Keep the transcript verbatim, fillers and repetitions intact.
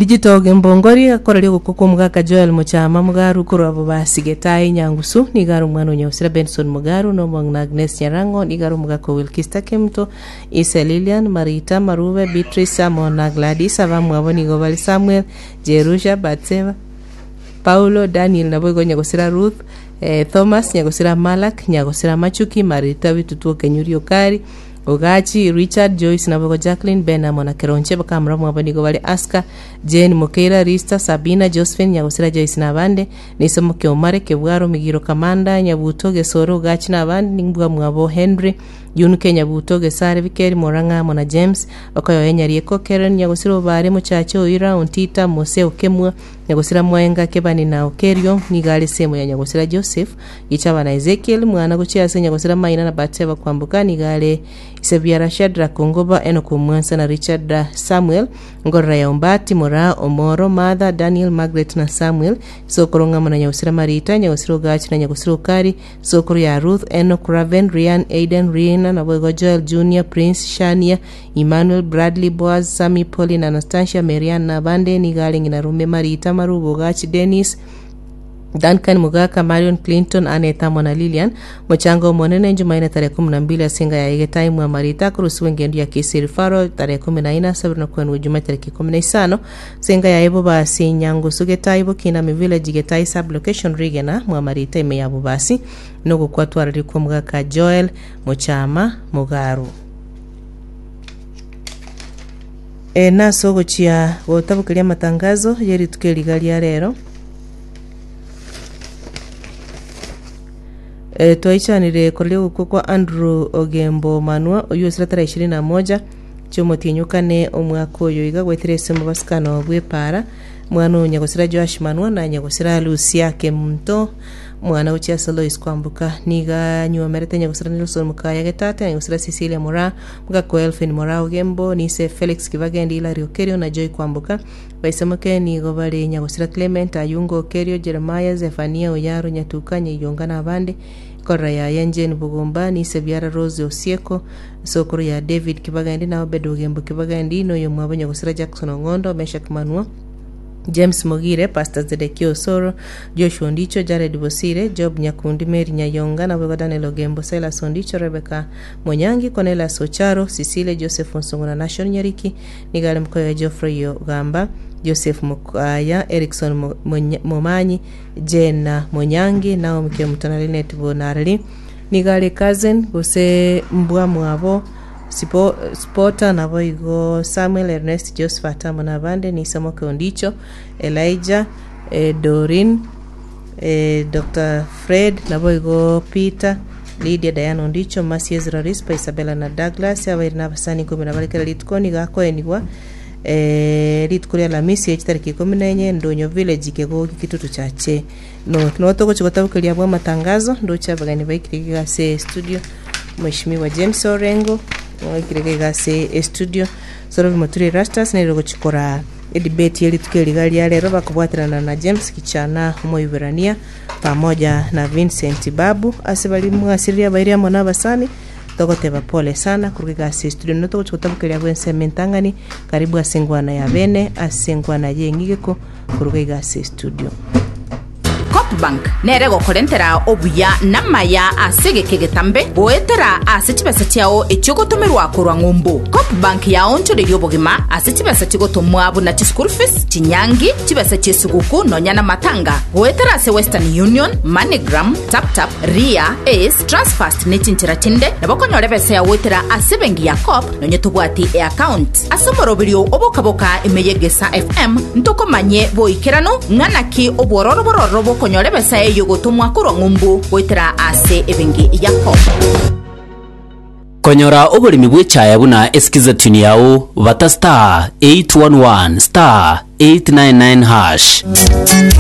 Digital Gembongori akoraria ogokwa kwa omogaka Joel Mochama Mugaru korwa Bobasi Getae Nyangusu nigo are omwana o Nyagusira Benson Mugaru na omong'ina Agnes Nyarang'o nigo are omogaka o Wilkista Kemuto Ise Lilian Marita Marube Beatrice amo na Gladys abamwabo nigo bare Samuel Jerusha Batseba Paulo Daniel naboigo Nyagusira Ruth eh, Thomas Nyagusira Malak Nyagusira Machuki Marita Bitutu Okenyuri Okari Ogachi Richard Joyce naboigo Jacqueline Ben amo na Keronche bakamura mwabo nigo bare Aska Jane Mokeira Rista Sabina Josephine Nyagusira Joyce na abande Nisomo Kiomare Kebwaro Migiro Kamanda Nyabuto Gesoro Ogachi na abande nimbwa mwabo Henry Yunuke Nyabuto Gesare Bikeri Morang'a amo na James Okoyoe Nyarieko Karen Nyagusira Obare Mochache Oira Ontita Mose Okemwa Nyagusira Mwaenga Kebani na Okerio nigo are semo ya Nyagusira Joseph Gichaba na Ezekiel mwana gochia ase Nyagusira Maina na Batseba Kwamboka nigo are Isebiara Shadrack Ongoba Enoch Omwansa na Richard uh, Samuel Ngorora ya Ombati Moraa Omoro Martha Daniel Margaret na Samuel Sokoro ng'amo na Nyagusira Marita Nyagusira Ogachi na Nyagusira Okari Sokoro ya Ruth Enoch Raven Rian Aiden Rina naboigo Joel Junior Prince Shania Emmanuel Bradley Boaz Sami Pauline Anastasia Marian na abande nigo are ng'ina Rume Marita Marubo Ogachi Dennis Duncan Mugaka, Marion Clinton, Aneta amo na Lilian mochango omonene Jumanne tarehe kumi na mbili asinga ya Egetai mwa Marita kurusiwa engendo ya Kisiri Faro tarehe kumi na ina sabiri na kwenu Juma tariki kumi na isano singa ya Ebo basi Nyangusu Getai Bukinami Village Getai sub location Rigena mwa Marita ime ya Bobasi nogokwatwarari kwa Mugaka Joel Mochama Mugaru e, nase ogochia gotabokeria amatangazo yerituko eriga ria rero e, twaichanire koreria ogokwa kwa Andrew Ogembo Manua oyu osira tarehe ishirini na moja chiomotienyi omwaka oyo iga gwetire ase omobasikano bw'epara mwana oyo nyagosira Joash Manua na nyagosira Lucia Kemunto mwana gochia ase Lois Kwamboka niga anywomerete nyagosira Nelson Mukaya Getate nyagosira Cecilia Mora mugako Elfin Mora Ogembo nise Felix Kibagendi Hilary Okerio na Joy Kwamboka baisemoke nigo bare nyagosira Clement Ayungo Okerio Jeremiah Zephania Oyaro Nyatuka Nyaiyonga na abande korora yaye Jane Bugumba nise biara Rose Osieko sokoro ya David Kibagendi na Obed Ogembo Kibagendi noyo mwabo nyagosira Jackson Ong'ondo Meshak Manua James Mogire, Pastor Zedekia Osoro, Joshua Ondicho, Jared Bosire, Job Nyakundi, Mary Nyayonga, na Daniel Ogembo, Silas Ondicho, Rebecca Monyangi, Cornelius Ocharo, Cecilia Joseph Onsongo na Nashon Nyariki, Nigale Mkoya Geoffrey Ogamba, Joseph Mukaya, Erickson Mo- Monya- Momanyi, Jena Monyangi, Naomi Kemutana Linet Bonarli, Nigale Cousin, gose Mbwa Mwabo, Sipo, Spota nabo igo Samuel Ernest Josephat amo na abande Nisomoke Ondicho Elijah eh, Dorin eh, Dr Fred nabo igo Peter Lydia Diana Ondicho Mercy Ezra Rispa Isabella na Douglas abairi na abasani ikumi na barekera rituko nigo akoenigwa eh, rituko ria Alhamisi echitariki ikumi na enye Ndonyo village kegogi kitutu chache no no togochi gotabukeria bwa matangazo ndocha abageni baikire ase studio Mheshimiwa James Orengo oikire gase estudio Sorobi Muturi Erastus nero gochikora edebate yerituko eriga ria rero bakobwaterana na James Kichana omoiberania pamoja na Vincent Babu ase bari mwasiriria bairi amo na abasani togoteba pole sana kuruga gase studio no togochikotabukeria bwenseme entang'ani karibu ase engwana ya bene ase engwana yeng'igeko kuruga gase studio Copbank nere gokorentera obuya namaya ase geke getambe goetera ase chibesa chiao echiogotomerwa korwa ng'umbu Copbank yaonchoreria obogima ase chibesa chigotomwa buna chischool fees chinyangi chibesa chiesuguku nonya na matanga goetera ase Western Union MoneyGram TapTap Ria Ace Transfast ne chinchera chinde nabo okonyora ebesa yagoetera ase ebenki ya Coop nonye tobwati eaccount ase omoroberio obokaboka ime ya Egesa FM ntokomanye boikerano ng'anaki obwororo bororo bokonyora ebesa eyo gotomwa korwa ng'umbu goetera ase ebenki ya Coop konyora oboremi bw'echaya buna esikiza tune yao bata star eight one one star eight nine nine hash